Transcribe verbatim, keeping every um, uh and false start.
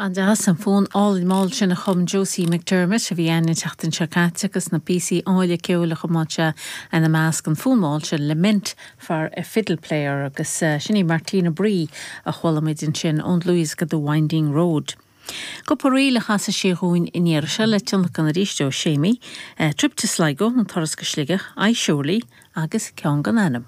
An deas an fonn álainn mall sin a chum Josie McDermott a bhí againn an tseachtain seo caite agus na píosaí áille ceoil a chum sé ina measc an fonn mall sin Lament for a Fiddle Player agus uh, sin í Martina Bree a chuala muid ansin ón dlúthdhiosca The Winding Road. Cúpla ríl a chas sí dhúinn in iar se le tionlacan arís ó Séimí, uh, Trip to Sligo an turas go Sligeach, I Surely agus ceann gan ainm.